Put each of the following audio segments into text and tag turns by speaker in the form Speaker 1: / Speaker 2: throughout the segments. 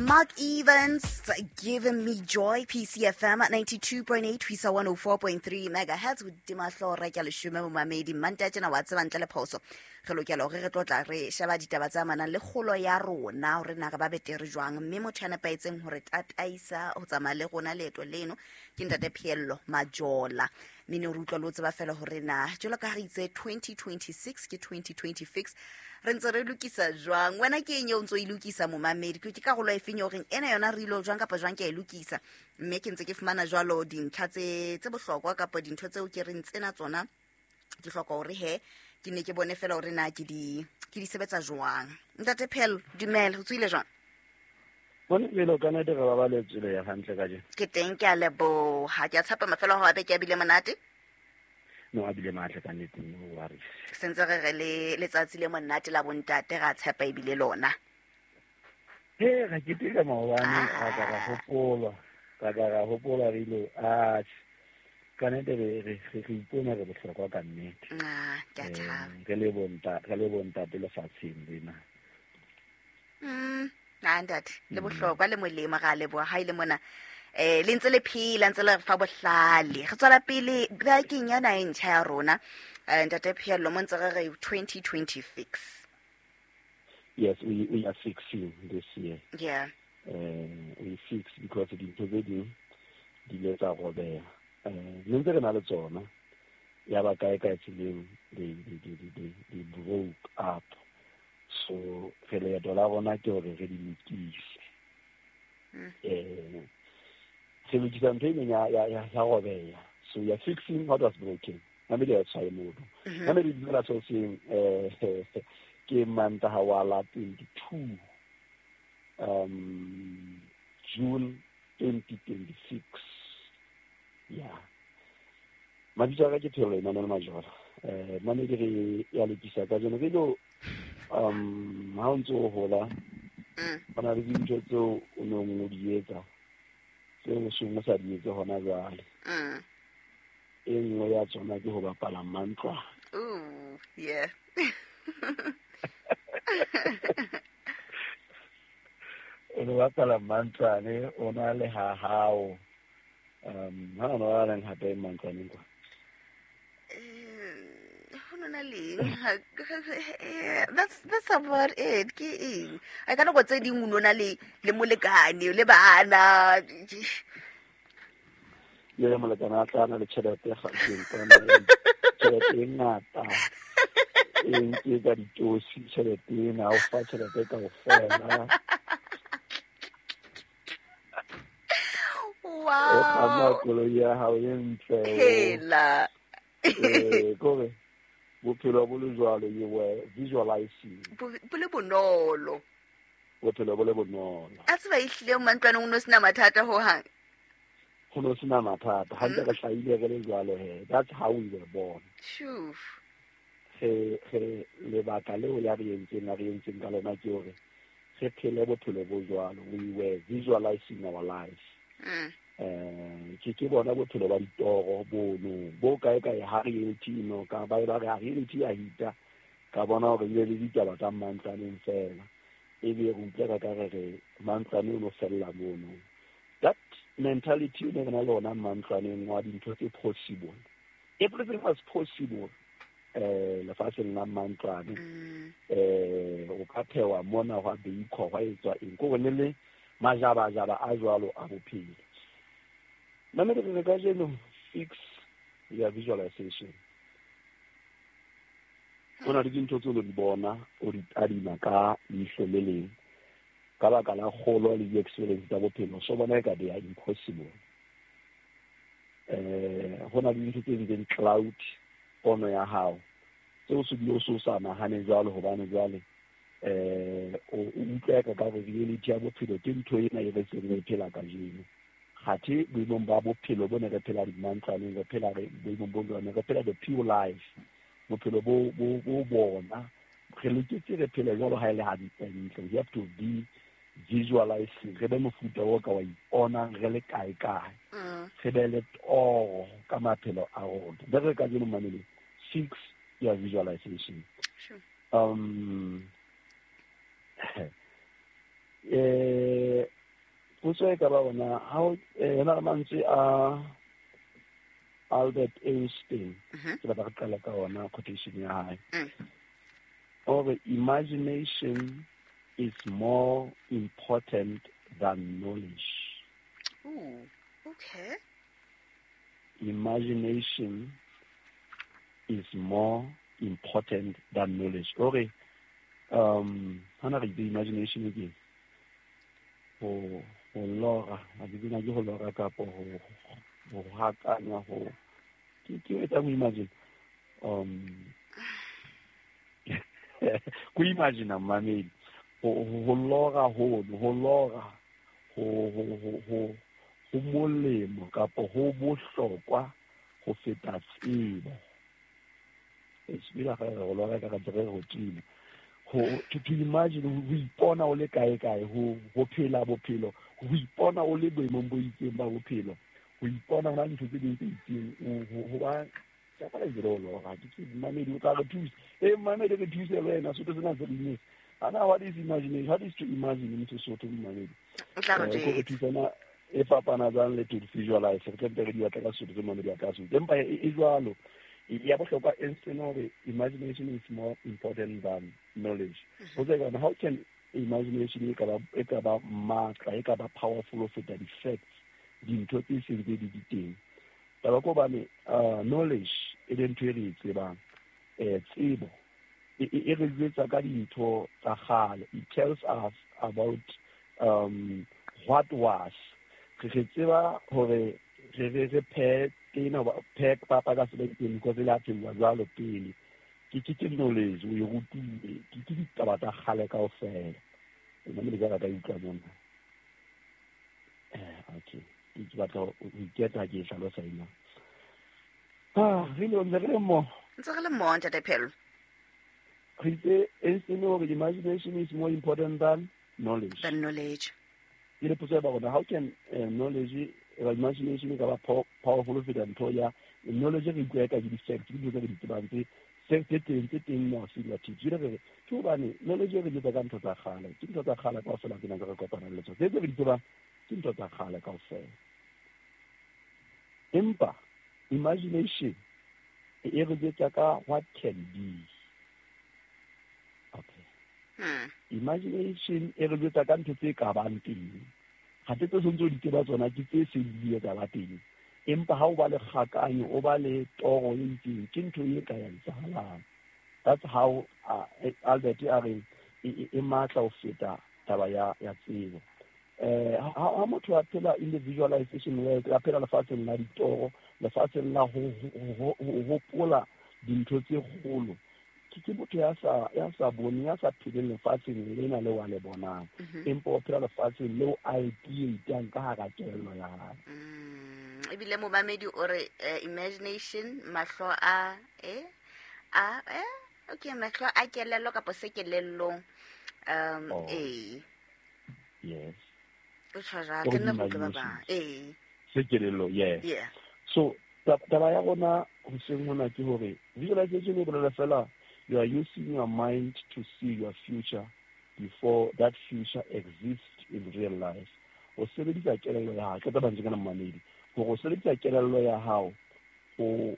Speaker 1: Mark Evans giving me joy, PCFM at 92.8 ho isa 104.3 megahertz. Hodima hlooho re ke leshome momamedi Manta tjena wa tseba ntle le phoso re lokela hore re tlo tla re sheba ditaba tse amanang le kgolo ya rona, hore na re ba betere jwang, mme motho ya nepahetseng hore tataisa ho tsamaya le rona leeto leno ke ntate Pheello Majola. Mme ne re utlwa le o tseba fela hore na jwalo ka ha re itse 2026 ke 2026, re ntse re lokisa jwang. Wena ke eng eo o ntso e lokisa momamedi? Ke karolo e feng eo reng ena yona re ilo jwang kapa jwang ke a e lokisa? Mme ke ntse ke fumana jwalo dintlha tse bohlokwa kapa dintho tseo ke reng tsena tsona ke hloka hore he ke ne ke bone fela hore na ke di sebetsa jwang. Ntate Pheello, dumela, o tsohile jwang?
Speaker 2: Bone pele o ka nete re babaletswe le ya hantle kajeno.
Speaker 1: Ke teng, ke a leboha. Ke a tshepa mafelo a hao a beke a bile monate.
Speaker 2: No, a bile matle ka nnete, no worries.
Speaker 1: Sentse re re le letsatsi le monate la bontate, ra tshepa ebile lona.
Speaker 2: He, ra keteka maobane, ra ka ra hopola, ra ka ra hopola re ile, ah, ka nnete re ipona re bohlokwa ka nnete.
Speaker 1: Ah, ke a thaba.
Speaker 2: Re le bontate lefatsheng lena.
Speaker 1: Ah, ntate, le bohlokwa le molemo, ra leboha ha ile mona. Le ntse le phela, ntse le re fa bohlale. Re tswela pele bekeng yona e ntjha ya rona. Ntate Pheello, mo ntse re re 2026.
Speaker 2: Yes, we are fixing this year.
Speaker 1: Yeah.
Speaker 2: We fix because dintho tse ding di ile tsa robeha. Ne ntse re na le tsona. Ya ba kae kae tseleng, they broke up. So re leeto la rona ke hore re di lokise. Re lokisa ntho e neng ya robeha. So we are fixing what was broken. Mamedi ya tshwae mono. Mamedi dumela so seng, ke Mantaha wa la 22, June 2026. Yeah. Mabitso a ka ke Pheello Emmanuel Majola. Mamedi re ya lokisa kajeno. Re lo, ha o ntse o hola, ho na le dintho tseo o neng o di etsa, tseo o seng o sa di etse hona jwale. E nngwe ya tsona ke ho bapala mantlwane.
Speaker 1: Ooh, yeah.
Speaker 2: O no bapala mantlwane, o na le ha hao. Ha o no ba leng hape mantlwaneng kwa?
Speaker 1: Ho no na leng? That's about it. Ke eng? Ai, ka nako tse ding o no na le molekane, le bana.
Speaker 2: Le molekane a tla na le tjhelete Gauteng kwana, tjhelete e ngata. E nke ka ditosi tjhelete ena, o fa tjhelete kaofela.
Speaker 1: Wow.
Speaker 2: O kganna koloi ya hao e ntle.
Speaker 1: Hela.
Speaker 2: Kore bophelo bo le jwalo, you were visualizing.
Speaker 1: Bo le bonolo.
Speaker 2: Bophelo bo le bonolo.
Speaker 1: A tseba ehlile mantlwaneng o no sena mathata ho hang.
Speaker 2: Ho no sena mathata. Ha ntse re hlahile re le jwalo he. That's how we were born.
Speaker 1: Sure.
Speaker 2: Re lebaka leo ya re entseng, ya re entseng ka lona ke hore re phele bophelo bo jwalo. We were visualizing our lives. Ke bona bophelo ba ditoro bono, bo kae kae ha reality no ka ba ba re ha reality ya hita, ka bona hore e le ditaba tsa mantlwaneng fela. E be re utlwa ka ka re re mantlwane o no fella mono. That mentality o ne re na le ona mantlwaneng wa dintho tse possible. Everything was possible. Lefatsheng la mantlwane. O ka phewa mona hwa beikwa, hwa etswa eng. Ke hore le le majabajaba a jwalo a bophelo. Mamedi re kajeno fix ya visualization. Ho na le dintho tseo o di bona, o di tadima ka leihlo le leng. Ka baka la kgolo le di-experience tsa bophelo, so bona eka they are impossible. Ho na le dintho tse ding tse di cloud pono ya hao, tseo se bile o se o sa nahane jwalo, hobane jwale, o utlwa ka re reality ya bophelo ke ntho ena e re seng re phela kajeno. Kgathe boemong ba bophelo bo ne re phela dimantlwaneng, re phela re boemong bo jwang, re phela the pure life. Bophelo bo bona, re loketse re phele jwalo ha e le hantle ntle. We have to be visualizing, re be mofuta o ka wa iponang re le kae kae. Re be le toro ka maphelo a rona. Be re kajeno mamele, fix your visualization. Potso e ka ba ona ha yona re mantswe a Albert Einstein, ke batla re qala ka ona quotation ya hae. O re imagination is more important than knowledge.
Speaker 1: Ooh, okay.
Speaker 2: Imagination is more important than knowledge. O re hana re itse imagination ke ho lora, ha ke tsena ke ho lora kapa ho hakanya ho ke etsa mo imagine. Ko imagine mamedi ho lora ho lora ho molemo kapa ho bohlokwa ho feta tsebo. Esibila ga re lora ka re ho tima. Ho to imagine ho ipona o le kae kae, ho phela bophelo, ho ipona o le boemong bo itseng ba bophelo, ho ipona hona ntho tse ding tse itseng, ho ba ka ba le lora ke mamedi o tla re thusa. Mamedi re thuse le wena sotho sena se le ana. What is imagination? What is to imagine in Sesotho mamedi?
Speaker 1: O tla re
Speaker 2: thusa na e fapana jwang le to visualize? Re tlamehile re di batla ka Sesotho se mamedi a ka se. Empa e jwalo ya bohlokwa Einstein hore imagination is more important than knowledge. Ho tse kana how can imagination e ka ba matla, e ka ba powerful ho feta di-facts, dintho tse seng tse di teng. Taba ko bane knowledge e le ntho e re e tsebang, tsebo e re jwetsa ka dintho tsa kgale. It tells us about what was. Re tseba hore re phe tena phe papa ka sebediseng because le a phela jwalo pele. Ke knowledge o e rutile, ke ditaba tsa kgale kaofela. Nna le ka utlwa mona. Okay. Ke batla ho iketla ke hlalosa ena. Re le mo.
Speaker 1: Ntse re le mo ntate Phelo.
Speaker 2: Re itse Einstein hore imagination is more important than knowledge.
Speaker 1: Than knowledge.
Speaker 2: Ke le potso ya ba rona, how can knowledge imagination e ka ba powerful ho feta ntho ya knowledge? Re utlwa ka di-facts, ke dintho tse re di tsebang tse teng mo se di tip. Re ke hobane knowledge re jwetsa ka ntho tsa kgale, ke ntho tsa kgale kaofela tsena tse re kopanang le tsona. Tse re di tsebang ke ntho tsa kgale kaofela. Empa imagination e re jwetsa ka what can be. Okay. Imagination e re jwetsa ka ntho tse ka bang teng. Ha tse tsontso di tseba tsona ke tse seng di etsa ba teng. Empa ha o ba le kgakanyo, o ba le toro e itseng, ke ntho e ka ya etsahalang. That's how Albert a re e matla ho feta taba ya tsebo. Ha motho a phela in the visualization world, a phela lefatsheng la ditoro, lefatsheng la ho hopola dintho tse kgolo, ke motho ya sa boneng, ya sa pheleng lefatsheng lena le wa le bonang, empa o phela lefatsheng leo a e tietang ka hara kelello ya hae.
Speaker 1: Ebile momamedi o re imagination mahlo a okay, mahlo a kelello kapa se kelellong.
Speaker 2: Yes.
Speaker 1: O tshwara ke nna go tloba ba.
Speaker 2: Se kelello, yes.
Speaker 1: Yeah.
Speaker 2: So taba ya rona hoseng hona ke hore visualization e bolela fela you are using your mind to see your future before that future exists in real life. O sebedisa kelello ya hao, ke taba ntse kana mamedi, hore o sebedisa kelello ya hao ho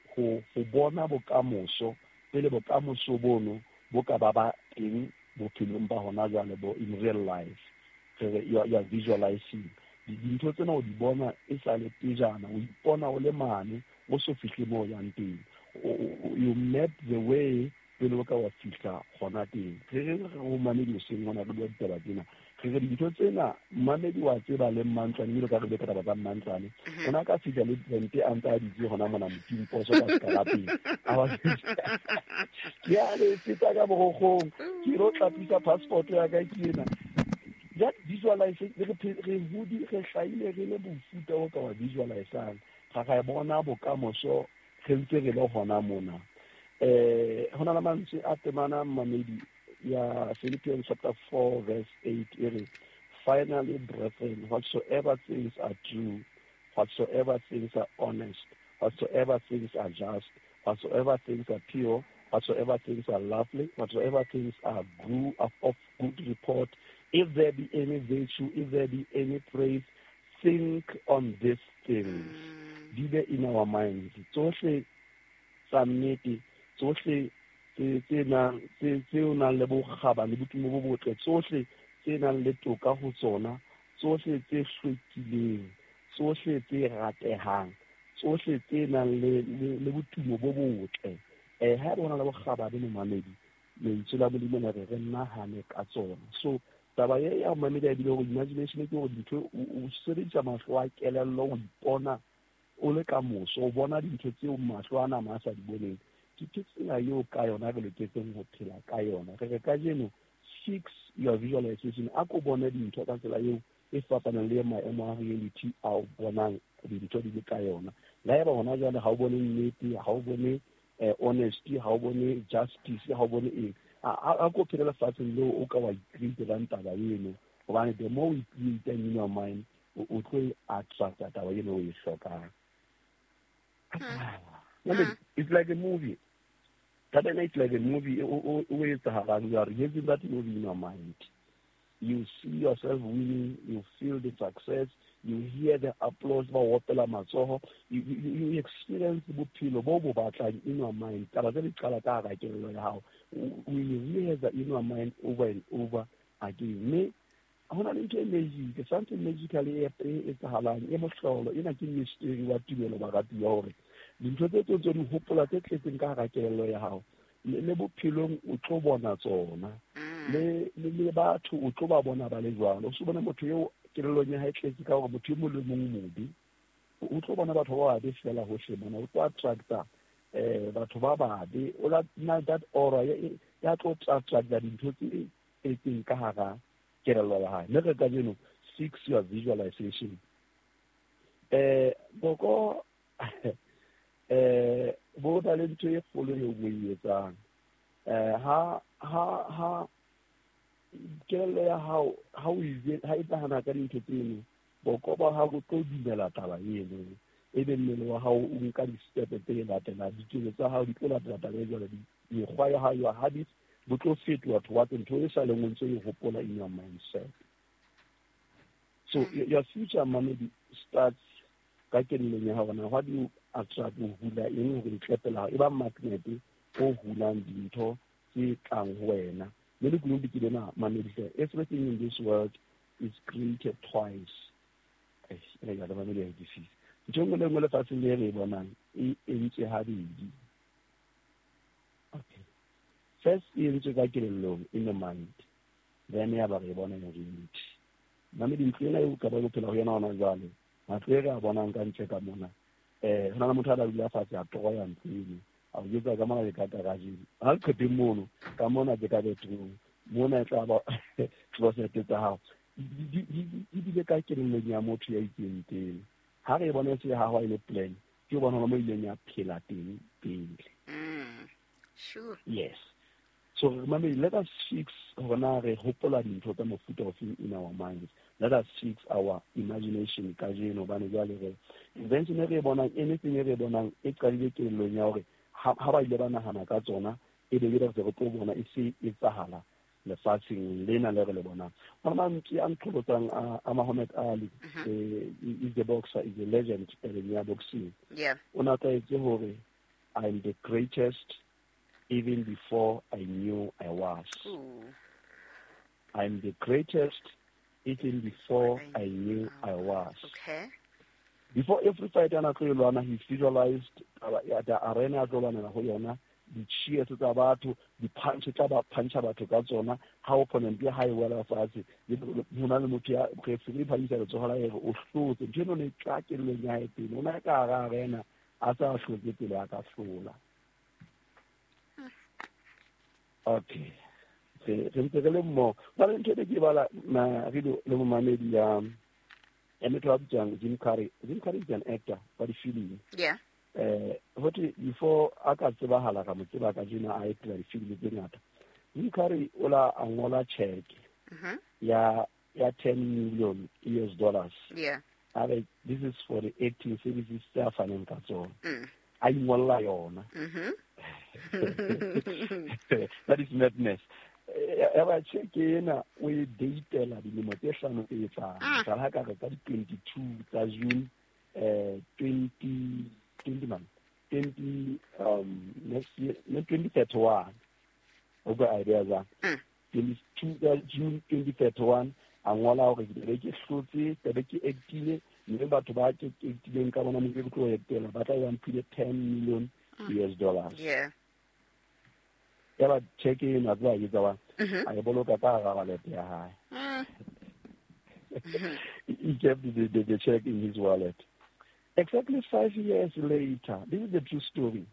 Speaker 2: bona bokamoso pele bokamoso bono bo ka ba teng bophelong ba hona jwale bo in real life. You are visualizing dintho tsena o di bona e sa le pejana, o ipona o le mane o so fihle moo yang teng. You map the way pele o ka wa fihla gona teng. Re ho mamedi hoseng hona re bua ditaba tsena, re dintho tsena mamedi wa tseba le mmantlwane, ebile ka re bue ka taba tsa mmantlwane. Ona ka fihla le rente a ntse a ditse hona mona moting poso ka sekarapeng. Ke a le feta ka borokgong, ke lo tlapisa passport ya ka ke ena. That visualization re hodi re hlaile re le bofuta o ka wa visualizang, ga bona bokamoso re ntse re le hona mona. Hona le mantswe a temana mamedi ya Philippians chapter 4 verse 8 e re, finally brethren, whatsoever things are true, whatsoever things are honest, whatsoever things are just, whatsoever things are pure, whatsoever things are lovely, whatsoever things are good of good report, If there be any virtue, if there be any praise, think on these things. Di be in our minds. Tsohle tsa nnete, tsohle tse nang tse o nang le bokgabane le botumo bo botle, tsohle tse nang le toka ho tsona, tsohle tse hlwekileng, tsohle tse ratehang, tsohle tse nang le botumo bo botle. Ha eba ho na le bokgabane momamedi, lentswe la Modimo le re re nahane ka tsona. So taba e ya momamedi a bile hore imagination ke hore dintho o sebedisa mahlo a kelello, o ipona o le ka moso, o bona dintho tseo mahlo a nama a sa di boneng. Ke tsela eo ka yona re loketseng ho phela ka yona. Re re kajeno fix your visualization, a ko bone dintho ka tsela eo e fapaneng le maemo a reality a o bonang dintho di le ka yona. Le haeba hona jwale ha o bone nnete, ha o bone honesty, ha o bone justice, ha o bone eng, a ko phele lefatsheng leo o ka wa icreatelang taba eno, hobane the more o icreatang in your mind, o tlo e attracta taba eno o e hlokang. It's like a movie. Taba ena it's like a movie o etsahalang. You are rehearsing that movie in your mind. You see yourself winning, you feel the success, you hear the applause ba opela matsoho, you experience bophelo bo bo batlang in your mind. Taba tse di qala ka hara kelello ya hao. O rehearse in your mind over and over again. Mme ho na le ntho e magic, something magical e etsahalang, e mohlolo. Ena ke mystery wa tumelo baratuwa, hore dintho tse tse di hopola tse tletseng ka hara kelello ya hao, le bophelong o tlo bona tsona. Le batho o tlo ba bona ba le jwalo. O se bone motho eo kelellong ya hae tletse ka hore motho e mong le mong mobe, o tlo bona batho ba babe fela hohle mona. O tlo attracta batho ba babe, o la na that aura ya tlo attracta dintho tse tletseng ka hara kelello ya hae. Mme re kajeno fix your visualization. Boko bo na le ntho e kgolo eo bo e etsang. Ha kelello ya hao ha o ha e nahana ka dintho tseno, boko ba hao bo tlo dumela taba eno, ebe mmele wa hao o nka di-step tse latelang, diketso tsa hao di tlo latela taba e jwalo, mekgwa ya hao, your habits bo tlo fetoha towards ntho e sa leng o ntse o e hopola in your mindset. So your future money starts ka kelellong ya hao. Na what do you attract, o hula eng hore letlepe la hao e ba magnet o hulang dintho tse tlang ho wena. Mme lekunutu ke lena mamedi, everything in this world is created twice. Ntho e nngwe le nngwe lefatsheng le re e bonang e entswe habedi. Okay. First e entswe ka kelellong, in the mind, then ya ba re e bona in reality. Mamedi, ntlo ena eo ka ba bophela ho yona hona jwale, matlo e re a bonang ka ntle ka mona, ho na le motho a la dula fatshe a toroya ntlo eno, a o jwetsa ka mona ke ka garageng, ha leqhepeng mono, ka mona ke ka bedroom, mona e tla ba closet tsa hao. Di bile ka kelellong ya motho ya itseng pele. Ha re e bona e se hahwa e le plan, ke bona hona mo ileng ya phela teng pele.
Speaker 1: Sure.
Speaker 2: Yes. So mamedi, let us fix hore na re hopola dintho tsa mofuta ofeng in our minds. Let us fix our imagination kajeno, hobane jwale re invention e re e bonang, anything e re e bonang e qadile kelellong ya hore ha ba ile ba nahana ka tsona, e be re se re tlo bona e se etsahala lefatsheng lena le re le bonang. Hona mantswe a nqholotsang a Muhammad Ali, is the boxer, is a legend tabeng ya boxing. O na tlwaetse hore I'm the greatest even before I knew I was.
Speaker 1: Ooh.
Speaker 2: I'm the greatest even before I knew I was.
Speaker 1: Okay.
Speaker 2: Before every fight ana tlo e lwana, he visualized the arena a tlo lwanela ho yona, di-cheers tsa batho, di-punch tsa ba puncha batho ka tsona, ha opponent ya hae wela fatshe, ho na le motho ya referee phamisa letsoho la hae o hlotse. Ntho eno ne tla kelellong ya hae pele. O na ka hara arena a sa hlotse pele a ka hlola. Okay. Re ntse re le mmoho. Ba le ntho e ke bala na re le momamedi ya motho a bitswang Jim Carrey. Jim Carrey is an actor wa difilimi.
Speaker 1: Yeah.
Speaker 2: Hote before a ka tsebahala ka mo tseba ka jena a etela difilimi tse ngata. Jim Carrey o la a ngola check ya $10 million US dollars.
Speaker 1: Yeah.
Speaker 2: A re this is for the acting services tse a faneng ka tsona. A ingolla yona. That is madness. Ya ba cheque ena o e datela dilemo tse hlano tse tlang. Mohlala ha ka re ka di-22 tsa June 20 man 20 next year 2031. O ka idea jwang? 22 tsa June 2031 a ngola hore ke be ke hlotse, ke be ke actile, mme batho ba ke actileng ka bona mo ke tlo etela ba tla ba mphile $10 million US dollars.
Speaker 1: Yeah.
Speaker 2: Ya ba cheque ena tsa etsa wa a e boloka ka hara wallet ya hae. He kept the check in his wallet. Exactly 5 years later, this is the true story.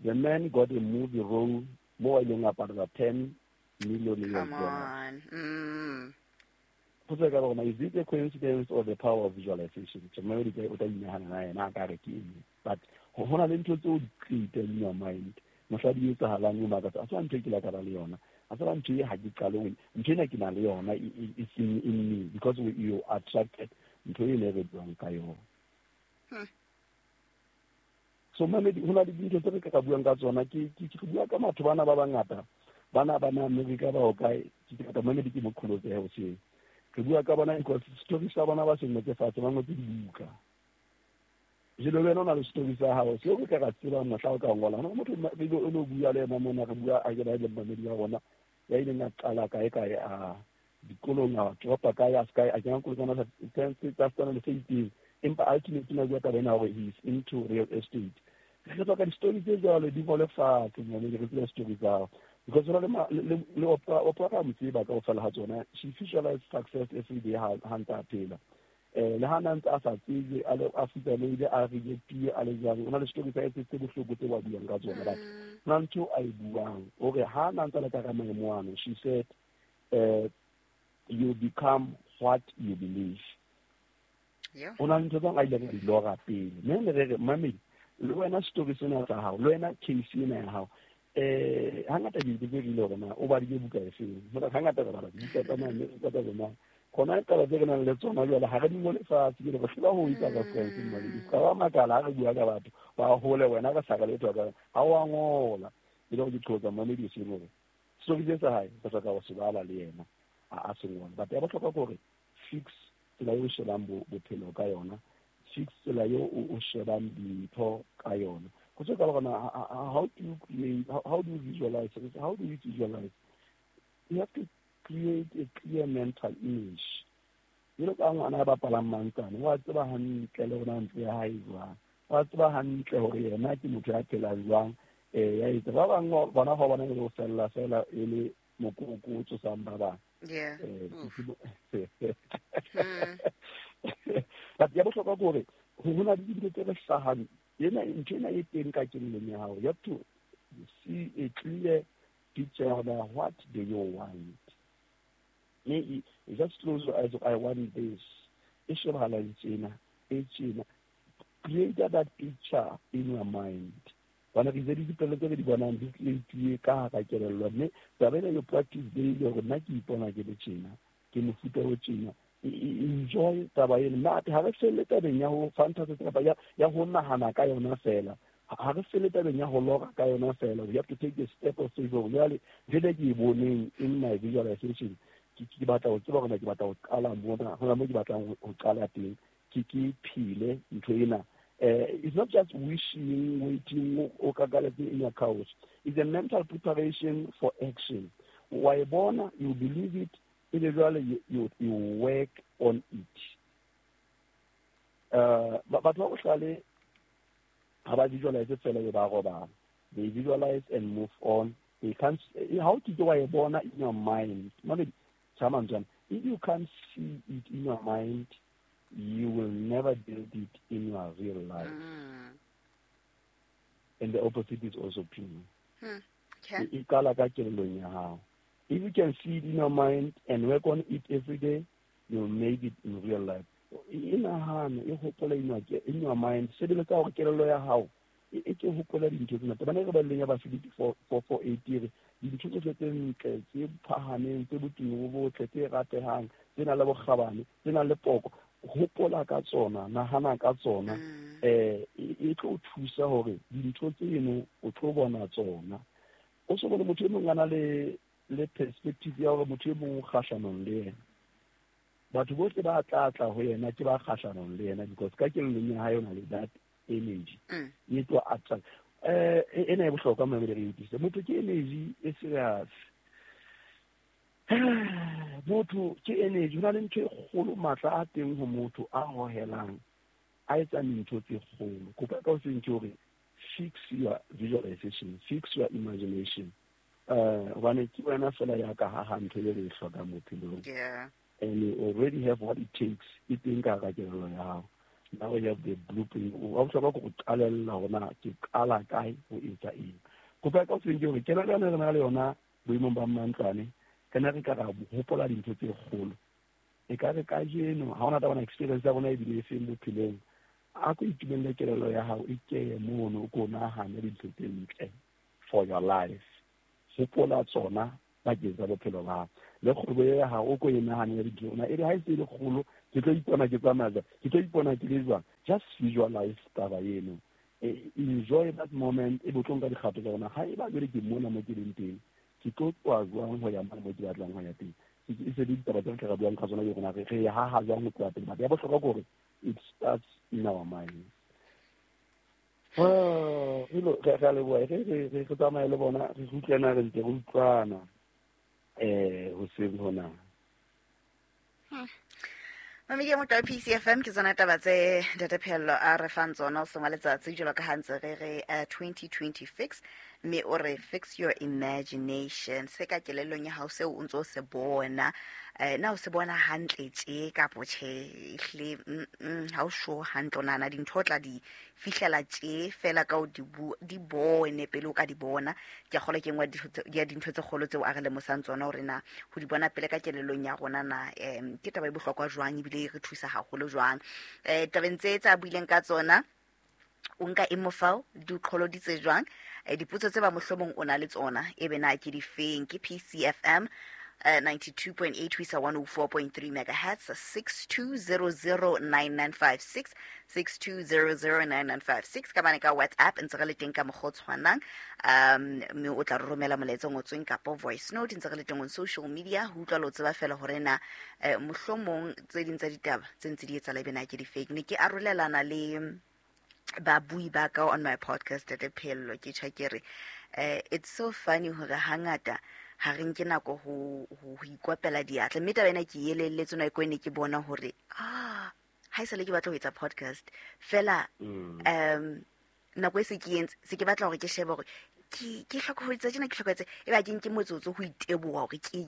Speaker 2: The man got a movie role more than about $10 million US
Speaker 1: Come
Speaker 2: dollars.
Speaker 1: On.
Speaker 2: Is it a coincidence or the power of visualization? But ho na le ntho tseo di create in your mind. Mosadi e etsahalang o makatsa, a tswa ntho e ke la ka ba le yona. A tswa ntho e ha ke qale ho ntho ena ke na le yona, it's in me because you attracted ntho e ne re buang ka yona. So mamedi, ho na le dintho tse re ka buang ka tsona, ke bua ka batho bana ba bangata, bana ba Amerika ba ho kae, ke ka mamedi ke mo qholotse ho seng. Re bua ka bona because story sa bona ba se ngotse fatshe, ba ngotse dibuka. Jelo wena o na le story sa hao, seo re ka ra tseba mohla o ka ngola. Hona motho o no bua le yena mona, re bua a ke ba le mamedi wa rona, ya ileng a qala kae kae a dikolong, a dropa kae, a ska a kena kolong tsa tsa tsa le se itseng. Empa ultimately na bua taba ena hore he is into real estate. Re tswa ka di-story tse jwalo di ngole fatshe, mamedi, re tsebe story tsa hao. Because le Oprah ka mo tseba kaofela ha tsona, she visualized success every day ha ntse a phela. Le ha na ntse a sa tsebe, a le a futsanehile, a rejectile, a le jwang, o na le story tsa hae tse bohloko tse ba buang ka tsona, but ho na le ntho a e buang hore ha na ntse a le ka hara maemo ano, she said, you become what you believe.
Speaker 1: Yeah.
Speaker 2: O na le ntho tse a ileng a di lora pele. Mme ne re re, mamedi, le wena story sena sa hao, le wena case ena ya hao, hangata ke itse rile hore na o badile buka e feng. Hore hangata re bala dibuka tsa mane, tsa tsa rona. Khona taba tse re nang le tsona jwale ha re di ngole fatshe, ke re hlola ho etsa reference mmadi. Ka ba makala ha re bua ka batho ba hole wena re sa re letho ka ha wa ngola. E le hore ke qotsa mamedi o seng hore story se sa hae re hloka ho se bala le yena a se ngole. But ya bohlokwa ke hore fix tsela eo o shebang bophelo ka yona, fix tsela eo o shebang dintho ka yona. Go tswa ka hore na how do you create, how do you visualize, how do you visualize? You have to create a clear mental image. Jwalo ka ngwana a bapalang mantsane, wa tseba hantle le hore na ntlo ya hae jwang, wa tseba hantle hore yena ke motho ya phelang jwang. Ya etsa ba bang bona ha bona e le ho fella fela e le mokoko o tsosang ba bang.
Speaker 1: Yeah.
Speaker 2: But ya bohlokwa ke hore ho na le dintho tse re hlahang, ena ntho ena e teng ka kelellong ya hao. You have to see a clear picture of what do you want. Mme you just close your eyes, I want this. E shebahala tjena, e tjena. Create that picture in your mind. Bana re itse dipelo tse re di bonang di create ka hara kelello, mme taba ena you practice daily hore nna ke ipona ke le tjena, ke mofuta o tjena. Enjoy taba ena. Mme ha re felle tabeng ya ho fantasy kapa ya ho nahana ka yona fela. Ha re felle tabeng ya ho lora ka yona fela. We have to take a step of faith hore jwale ntho e ke e boneng in my visualization, ke batla ho tseba hore na ke batla ho qala mona, hona moo ke batlang ho qala teng, ke phele ntho ena. It's not just wishing, waiting, o kakaletse in your couch. It's a mental preparation for action. Wa e bona, you believe it, ebe jwale you work on it. Batho ba bohlale ha ba visualize fela e ba robala. They visualize and move on. They can't, how ke wa e bona in your mind? Mamedi, tjha, if you can't see it in your mind, you will never build it in your real life. And the opposite is also true.
Speaker 1: Okay.
Speaker 2: E qala ka kelellong ya hao. If you can see it in your mind and work on it every day, you'll make it in real life. E nahane, e hopole in your mind. Sebeletsa hore kelello ya hao e ke hopola dintho tsena. Tabana re baleng ya ba Filipi 4:4-8 re dintho tsohle tse ntle, tse phahameng, tse botumo bo botle, tse ratehang, tse nang le bokgabane, tse nang le poko, hopola ka tsona, nahana ka tsona. E tlo thusa hore dintho tseno o tlo bona tsona. O so bone motho e mong a na le le perspective ya hore motho e mong o kgahlanong le yena. Batho bohle ba tla tla ho yena ke ba kgahlanong le yena, because ka kelellong ya hae o na le that energy e tlo attract. Ena e bohlokwa, mamedi, re utlwisise. Motho ke energy e serious. Motho ke energy. Ho na le ntho e kgolo, matla a teng ho motho a hohelang, a etsang dintho tse kgolo. Kopa ka hoseng ke hore fix your visualization, fix your imagination, hobane ke wena fela ya ka haha ntho e re e hlokang bophelong. And you already have what it takes. E teng ka hara kelello ya hao. Now you have the blueprint. Wa bohlokwa ke go qalella hore na ke qala kae ho etsa eng. Kopa ka hoseng ke hore kelello yane re na le yona boemong ba mantlwane, re ne re ka ra hopola dintho tse kgolo. E ka re kajeno ha hona taba experience ya rona ebile e feng bophelong, a ko itumelle kelello ya hao e keye mono, o ko nahane dintho tse ntle for your life. Hopola tsona bakeng sa bophelo ba hao. Le kgwebo ya hao o ko e nahane dintho na e re ha e se le kgolo, ke tlo ipona ke tsamaya jwang, ke tlo ipona ke le jwang. Just visualize taba eno, enjoy that moment. E bo tlo nka dikgato tsa rona. Ha e ba jwale ke mona mo ke leng teng, ke tlo tloha jwang ho ya mane mo ke batlang ho ya teng? E se le ditaba tse re tla re buang ka tsona, ke rona re haha jwang ho tloha pele. But ya bohlokwa ke hore it starts in our mind. Re a leboha. Re tsamaye le bona, re utlwana, re ntse re utlwana hoseng hona.
Speaker 1: Mamedi ya motho wa PCFM, ke tsona taba tse Ntate Phehello a re fang tsona o sengwa letsatsi, jwalo ka ha ntse re re 2020 fix, mme o re fix your imagination. Se ka kelellong ya hao seo o ntso se bona, na o se bona hantle tje kapo tjhe? Ehlile, ha o sure hantle, o nahana dintho o tla di fihlela tje fela ka o di bone pele o ka di bona. Ke a kgolwa ke nngwe ya dintho tse kgolo tseo a re lemosang tsona, hore na ho di bona pele ka kelellong ya rona na ke taba e bohlokwa jwang, ebile e re thusa haholo jwang. Tabeng tse tsa buileng ka tsona, o nka eng mofao, di o qholoditse jwang? Dipotso tse ba mohlomong o na le tsona, e be na ke difeng? Ke PCFM 92.8 ho isa 104.3 megahertz, 62009956, 62009956, ka bane ka WhatsApp ntse re le teng ka mokgwa o tshwanang, mme o tla re romela molaetsa o ngotsweng kapo voice note. Ntse re le teng on social media ho utlwa le o tseba fela hore na mohlomong tse ding tsa ditaba tse ntse di etsahala ebe na ke di-fake. Ne ke arolelana le babui ba ka on my podcast Ntate Phehello, ke tjha ke re it's so funny hore hangata ha re nke nako ho ikopela diatla, mme taba ena ke elelletswe nako e ne ke bona hore ha esale ke batla ho etsa podcast fela, nako e se ke entse, se ke batla hore ke shebe hore ke hloka ho etsa tjena, ke hloka ho etsa, e ba ke nke motsotso ho iteboha hore ke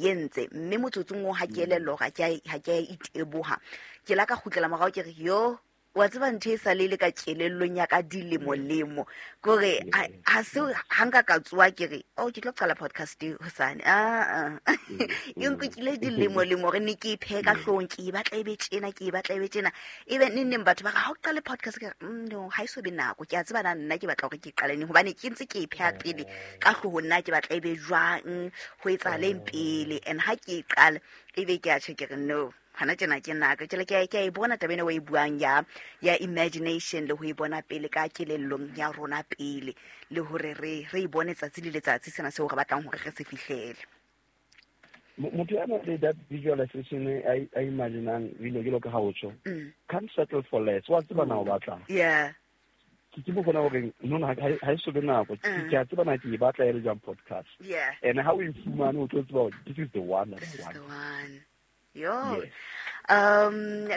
Speaker 1: entse, mme motsotsong oo ha ke elellwa hore ha ke a iteboha, ke la ka kgutlela morao, ke re yo, wa tseba ntho e sa le le ka kelellong ya ka dilemo lemo, ke hore ha se ha nka ka tsoha ke re oh, ke tlo qala podcast e hosane, e nkukile dilemo lemo hore ne ke e phehe ka hloohong, ke e batla e be tjena, ke e batla e be tjena, ebe neng neng batho ba re ha o qale podcast, ke re no, ha e so be nako, ke a tseba na nna ke batla hore ke qale neng, hobane ke ntse ke e pheha pele ka hloohong, nna ke batla e be jwang, ho etsahaleng pele, and ha ke e qala ebe ke a tjho, ke re no, hana tjena ke nako. Jwale ke a e bona taba ena o e buang ya imagination, le ho e bona pele ka kelellong ya rona pele, le hore re e bone tsatsi le letsatsi sena seo re batlang hore re se fihlele.
Speaker 2: Motho ya nang le that visualization a imaginang dilo jwalo ka ha o tjho, can't settle for less. Wa tseba na o batlang. Ke mo bona hore no, no, ha e so be nako. Ke a tseba na ke e batla e le jwang podcast. And ha o e fumane, o tlo tseba hore this is the one that
Speaker 1: This
Speaker 2: I
Speaker 1: is
Speaker 2: want.
Speaker 1: the one. Yo.
Speaker 2: Yes.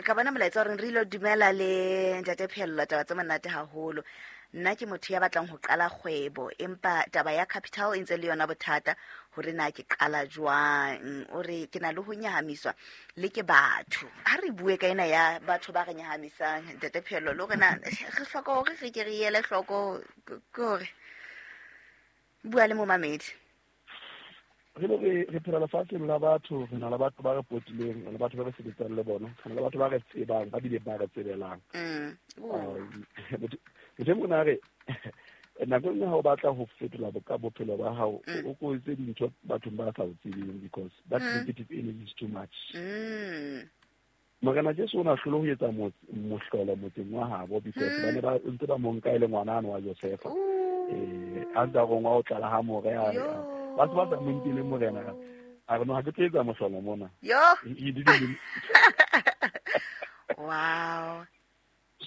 Speaker 1: Ka bona molaetsa o reng re ilo dumela le Ntate Phehello, taba tse monate haholo. Nna ke motho ya batlang ho qala kgwebo, empa taba ya capital e ntse le yona bothata hore na ke qala jwang. O re ke na le ho nyahamiswa le ke batho. Ha re bue ka ena ya batho ba re nyahamisang, Ntate Phehello, le hore na re hloka hore re ke re ele hloko, ke hore bua le momamedi.
Speaker 2: Re le re phela lefatsheng la batho, re na le batho ba re potileng, re na le batho ba re sebetsang le bona, re na le batho ba re tsebang, ba bile ba re tsebelang. Motho e mong a re, nako e nngwe ha o batla ho fetola bophelo ba hao, o ko etse dintho bathong ba sa o tsebeng, because that negative energy is too much. Morena Jesu o na hlole ho etsa mohlolo motseng wa habo, because ba ne ba ntse ba mo nka e le ngwana wa Josefa. A ntse a rongwa ho tlala ha more, a re, Ba se ba sa mo nkele morena. A re no, ha ke tlo etsa mohlolo mona.
Speaker 1: Yo.
Speaker 2: He didn't.
Speaker 1: Wow.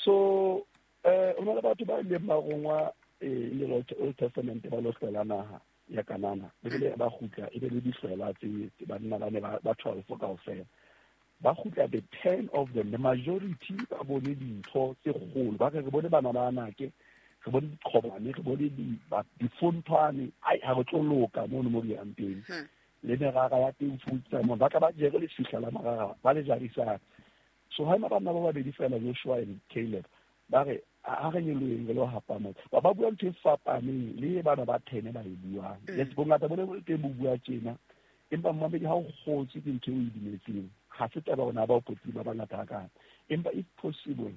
Speaker 2: So o na le batho ba ileng ba rongwa in the Old Testament ba lo hlola naha ya Kanana. Bibele ba kgutla e be le dihlola tse banna ba ne ba 12 kaofela. Ba kgutla the 10 of them, the majority ba bone dintho tse kgolo. Ba re re bone bana ba Anake, re bone diqhobane, re bone difonthwane. Ai, ha re tlo loka mono mo re yang teng. Le merara ya teng futsa mo ba tla ba jere lefihla la marara ba le jarisang. So ha ema banna ba babedi fela, Joshua and Caleb, ba re ha re nyoloheng re lo hapa motse. Ba ba bua ntho e fapaneng le bana ba 10 ba e buang. Yes, bongata bo ne bo le teng bo bua tjena. Empa mmamedi ha o kgotswe ke ntho eo o e dumetseng, ha se taba hore na ba o potile ba bangata hakana. Empa if possible,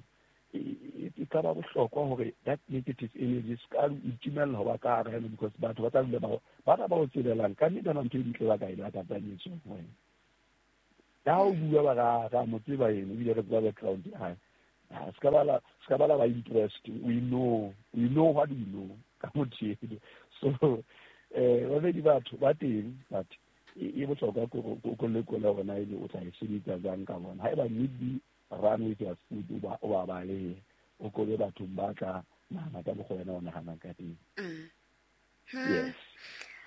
Speaker 2: e ka ba bohlokwa hore that negative energy se ka itumella ho ba ka hara yona, because batho ba tla dula ba ba o tsebelang. Ka nnete ha ntho e ntle ba ka e lakatsang e tswang ho wena. Ha o bua ba ra mo tseba ena, ebile re tseba background ya hae. Se ka ba la ba interest. We know what we know ka motho eno. So babedi batho ba teng, but e bohlokwa ko lekola hore na ebe o tla e sebetsa jwang ka bona. Haeba need be, run with your food, o ba balehe, o kobe bathong ba tla nahana ka mokgwa wena o nahanang ka teng. Yes.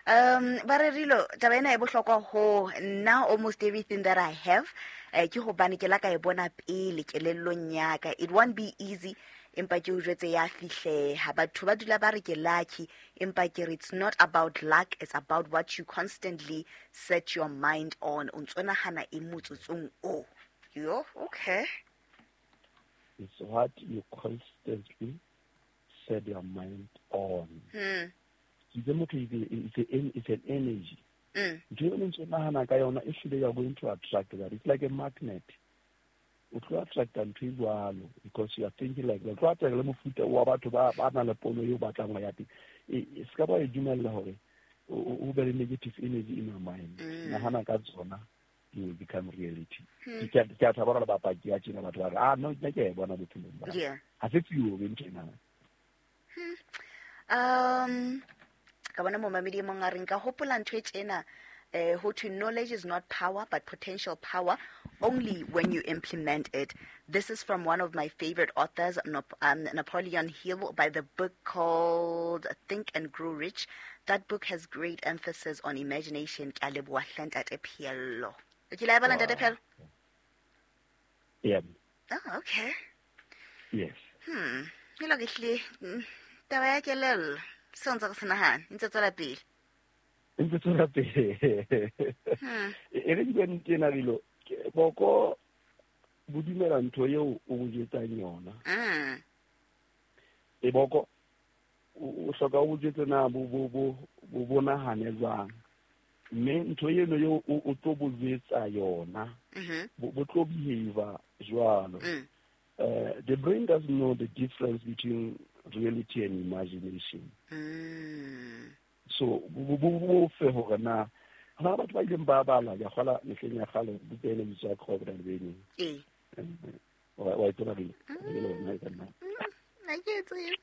Speaker 1: Ba re Rilo, taba ena e bohlokwa ho nna. Almost everything that I have, ke hobane ke la ka e bona pele kelellong ya ka. It won't be easy, empa ke o jwetse ya fihleha. Batho ba dula ba re ke lucky, empa ke re it's not about luck, it's about what you constantly set your mind on. O ntso nahana eng motsotsong o? Yo, okay.
Speaker 2: It's what you constantly set your mind on. It's an energy. Ntho eo ntse nahana ka yona e hlile you are going to attract that. It's like a magnet. O tlo attracta ntho e jwalo because you are thinking like that. O tlo attract le mofuta wa batho ba nang le pono eo batlang ho ya teng. E se ka ba e dumella hore o be le negative energy in your mind. Nahana ka tsona, it will become reality. Ke a thaba hore bapaki ya tjena batho ba re, no, nna ke a e bona bophelong ba. Ha se theory ntho ena.
Speaker 1: Ka bona momamedi e mong a re nka hopola ntho e tjena, ho thwe knowledge is not power but potential power only when you implement it. This is from one of my favorite authors, Napoleon Hill, by the book called Think and Grow Rich. That book has great emphasis on imagination. Ke a leboha hle ntate Pheello. O kile a e bala, ntate Pheello?
Speaker 2: Yeah.
Speaker 1: Oh, okay.
Speaker 2: Yes.
Speaker 1: Ke lo ke hlile, taba ya kelello, seo ntse re se nahana, e ntse tswela pele.
Speaker 2: E ntse tswela pele. E re ke bue nnete ena, Rilo, boko bo dumela ntho eo o bo jwetsang yona. E boko o hloka o bo jwetse na bo nahane jwang. Mme ntho eno eo o tlo bo jwetsa yona, bo tlo behave jwalo. The brain doesn't know the difference between reality and imagination. So bo fe hore na hona batho ba ileng ba bala ya kgola mehleng ya kgale buka ena e bitswa Crocodile Benny. Wa e tseba Rilo? E le wena e ka nna.
Speaker 1: Nna ke e tsebe.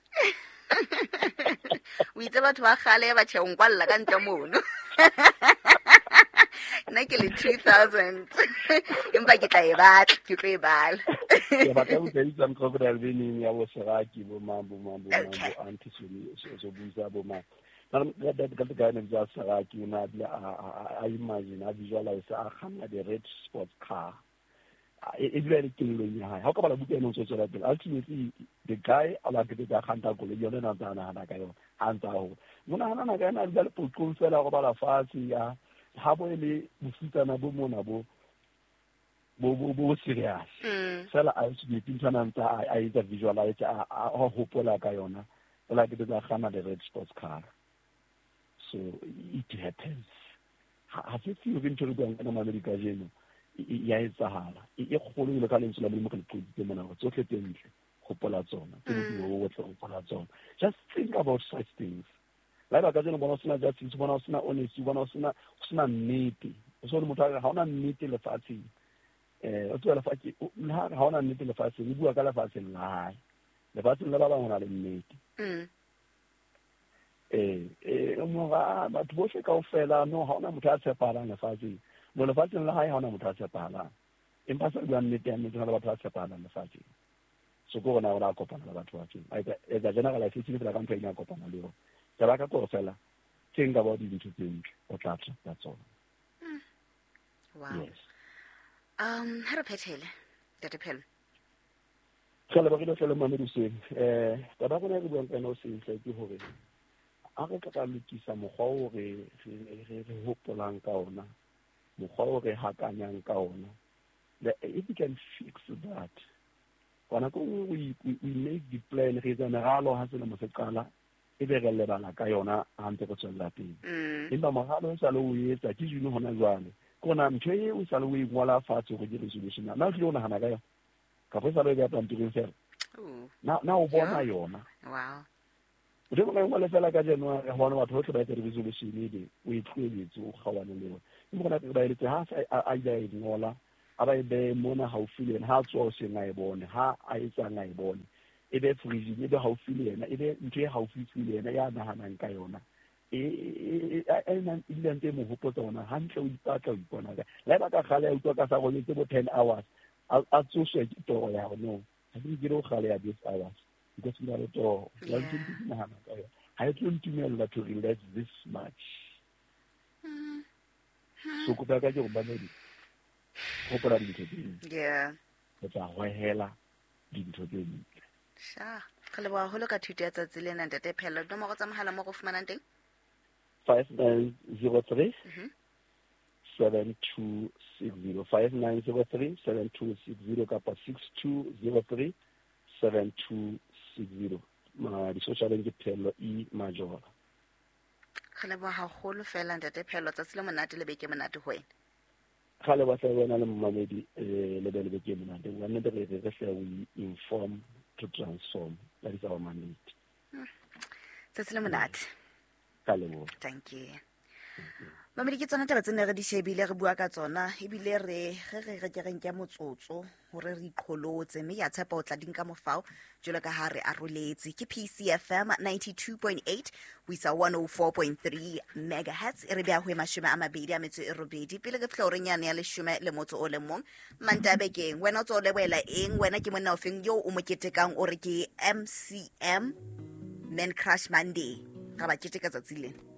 Speaker 1: O itse batho ba kgale ba tjhe o nkwalla ka ntle mono. Nna ke le 2000. Empa ke tla e batla, ke tlo e bala.
Speaker 2: Ke batla buka e bitswang Crocodile Benny ya bo Seraki, bo mang, bo mang, bo mang, bo Auntie Soni, so buisa bo mang. That guy named Seraki, o ne a bile a imagine, a visualize, a kganna the red sports car. E dula e le kelellong ya hae. Ha o ka bala buka ena o ntso tswela pele, ultimately the guy a ba qetetse a kganta koloi, yona ena a ntse a nahana ka yona, ha ntse a hola. Mo nahana ka yena a dula le poqong fela, a robala fatshe, ya ha bo e le bofutsana bo mona bo serious. Fela a ultimately ntho ena a ntse a etsa visualize, a hopola ka yona, fela a qetetse a kganna the red sports car. So it happens. Ha se theory ntho re buang ka yona mamedi kajeno, ya etsahala. E kgolo jwalo ka lentswe la Modimo re le qotsitse mona hore tsohle tse ntle hopola tsona, tse botumo bo botle hopola tsona. Just think about such things. La eba kajeno bona o sena justice, bona o sena honesty, bona o sena nnete. O so le motho a re ha ona nnete lefatsheng. O tseba lefatshe, le ha re ha ona nnete lefatsheng, o bua ka lefatsheng la hae. Lefatsheng la ba bang ho na le nnete. Mora batho bohle kaofela no ha ona motho a tshepahalang lefatsheng. No lefatsheng la hae ha ona motho a tshepahalang. Empa sa buang nnete ya nnete, hona le batho ba tshepahalang lefatsheng. So ke rona o la kopana le batho ba feng. A etsa generalization fela ka ntho e a kopana le yona. Taba ka kore fela tse nka ba dintho tse ntle o tla attracta tsona.
Speaker 1: Wow.
Speaker 2: Yes.
Speaker 1: Ha re phethele, Ntate Phello.
Speaker 2: Re lebogile hle le mamedi hoseng. Taba ya rona e re buang ka yona hoseng hle ke hore a re ka lokisa mokgwa o re re hopolang ka ona, mokgwa o re hakanyang ka ona. If we can fix that, kwana ko we make the plan, re etsa meralo ha selemo se qala, e be re lebala ka yona ha ntse re tswella pele. Empa moralo o sale o etsa ke June hona jwale. Ke ona ntho e o sale o e ngola fatshe hore ke resolution. Na o tlile o nahana ka yona? Kapa e sale o e beha pampiring fela? Na o bona yona?
Speaker 1: Wow.
Speaker 2: O tlo bona ngwale fela ka January hobane batho bohle ba etsa di-resolution ebe o e tlohelletse, o kgaohane le yona. Ke mokgwa o ba eletse ha a ile a e ngola, a ba e behe mona haufi le yena, ha a tsoha hoseng a e bone, ha a etsang a e bone. E be fridge, e be haufi le yena, e be ntho e haufi le yena ya nahanang ka yona. E dula ntse e mo hopotsa hona hantle, o ipatla o ipona ka. Le haeba ka kgale a utlwa ka sa robetse bo 10 hours, a tsoswe ke toro ya hore no, ha ke ke le ho kgale ya this hours. Because ke na le toro. Ya ntse ke nahana ka yona. Ha e tlo ntumella to relax this much. So kopo ya ka ke hore mamedi, hopola dintho tse ntle. Re tla hohela dintho tse ntle.
Speaker 1: Sha, re leboha haholo ka thuto ya tsatsi lena, Ntate Phello. Dinomoro tsa mohala mo re fumanang teng?
Speaker 2: 5903 7260. 5903 7260 kapa 6203 7260. Ma di-socialeng ke Phello E Majora.
Speaker 1: Re leboha haholo fela, Ntate Phello. Tsatsi le monate le beke monate ho wena.
Speaker 2: Ga le batla wena le momamedi, le be le beke monate. Wa nnete re re hle we inform to transform. That is our mandate.
Speaker 1: Tsatsi le monate.
Speaker 2: Ka leboha.
Speaker 1: Thank you. Mamedi, ke tsona taba tse ne re di shebile, re bua ka tsona, ebile re ge re re ke re nke motsotso hore re iqholotse, mme ke a tshepa o tla di nka mofao jwalo ka ha re aroletse. Ke PCFM 92.8 ho isa 104.3 megahertz, e re beha ho e 28 pele re fihla horeng yane ya 11 Mantaha bekeng. Wena o tswa o lebohela eng? Wena ke monna ofeng yo o mo ketekang o re ke MCM Man Crush Monday? Ra ba keteka tsatsi lena.